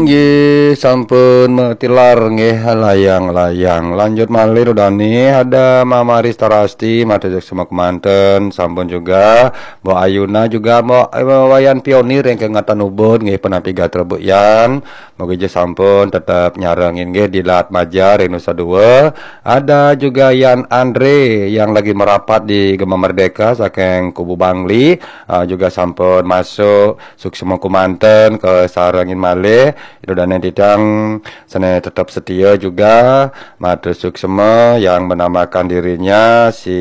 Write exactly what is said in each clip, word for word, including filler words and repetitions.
Nggih, sampun matilar nggih layang-layang. Lanjut malih Rudani, ada Mama Rista Rasti, matur suksma kemanten, sampun juga Mbok Ayuna juga Mbok eh, Wayan Pionir yang kengatan ubud nggih penapi gatra Bu Yan. Moga aja sampun tetap nyarengin nggih di Lat Maja ring Nusa Dua. Ada juga Yan Andre yang lagi merapat di Gema Merdeka saking Kubu Bangli, ah, juga sampun masuk suksma kumanten ke sarengin malih. Itu dan yang titang sene tetap setia juga matur suksma yang menamakan dirinya si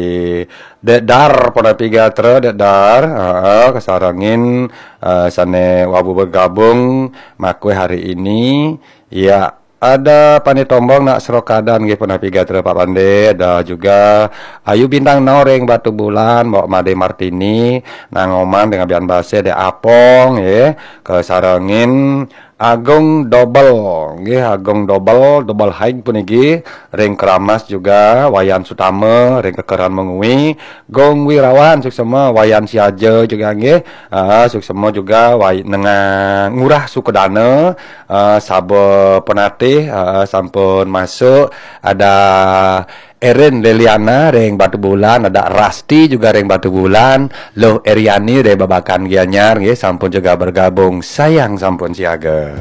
Dek Dar Ponapi Gatra, Dek Dar, heeh, kesarengin eh, sane wabu bergabung makwe hari ini. Ya, ada Pande Tombong nak Serokadan nggih Ponapi Gatra Pak Pande, ada juga Ayu Bintang Noreng Batu Bulan, Mbok Made Martini, Nang Oman dengan Bian Base, Dek Apong, ya, kesarengin Agung Double, nggih Agung Double, Double High puniki, ring Keramas juga, Wayan Sutama, ring Kekeran Mengwi, Gong Wirawan, suksma, Wayan Siaja juga nggih, ah, suksma juga, Way, Nengah Ngurah Sukedana, ah, Saba Penatih, ah, sampun masuk, ada Erin Liliana ring Batu Bulan, ada Rasti juga ring Batu Bulan, Loh Eriani ring Babakan Gianyar, nggih, sampun juga bergabung, sayang sampun siaga.